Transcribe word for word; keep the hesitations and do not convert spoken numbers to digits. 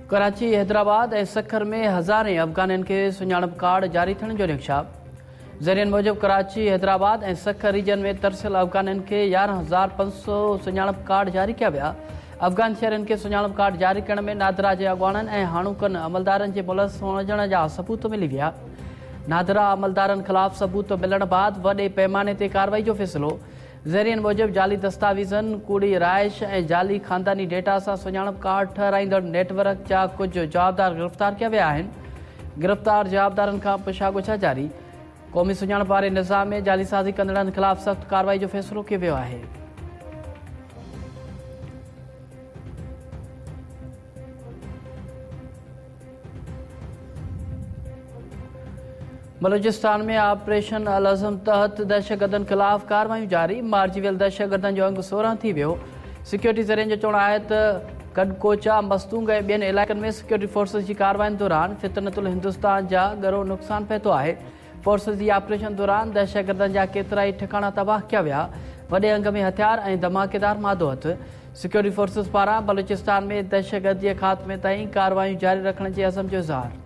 ڪراچي، حيدرآباد ۽ سکر ۾ هزارين افغانين کي سڃاڻپ ڪارڊ جاري ٿيڻ جو نقشا. ذريعن موجب ڪراچي، حيدرآباد ۽ سکر ريجن ۾ ترسيل افغانين کي يارهن هزار پنج سؤ سڃاڻپ ڪارڊ جاري ڪيا ويا. افغان شهرين کي سڃاڻپ ڪارڊ جاري ڪرڻ ۾ نادرا جي اڳواڻن ۽ هاڻوڪن عملدارن جي ملوث هجڻ جا ثبوت ملي ويا. نادرا عملدارن خلاف ثبوت ملڻ بعد وڏي پيماني تي ڪارروائي جو فيصلو. ذريعن موجب جعلي دستاويزن، ڪوڙي رهائش ۽ جعلي خانداني ڊيٽا سان سڃاڻپ ڪارڊ ٺهرائيندڙ نيٽ ورڪ جا ڪجهه جوابدار گرفتار ڪيا ويا آهن. گرفتار جوابدارن کان پڇا ڳڇا جاري. قومي سڃاڻپ واري نظام ۾ جعلي سازي ڪندڙن خلاف سخت ڪارروائي جو فيصلو ڪيو ويو آهي. بلوچستان ۾ آپريشن العزم تحت دهشتگردن خلاف ڪارروايون جاري. مارجي ويل دهشتگردن جو انگ سورهن ٿي ويو. سيڪيورٽي ذريعن جو چوڻ آهي ته گڏڪوچا، مستونگ ۽ ٻين علائقن ۾ سيڪيورٽي فورسز جي ڪاررواين دوران فتنة الهندوستان جا ڳرو نقصان پهتو آهي. فورسز جي آپريشن دوران دهشتگردن جا ڪيترائي ٺڪاڻا تباهه ڪيا ويا. وڏي انگ ۾ هٿيار ۽ ڌماڪيدار مادو هٿ. سيڪيورٽي فورسز پاران بلوچستان ۾ دهشتگردي جي خاتمي تائين ڪارروايون جاري رکڻ جي عزم جو اظهار.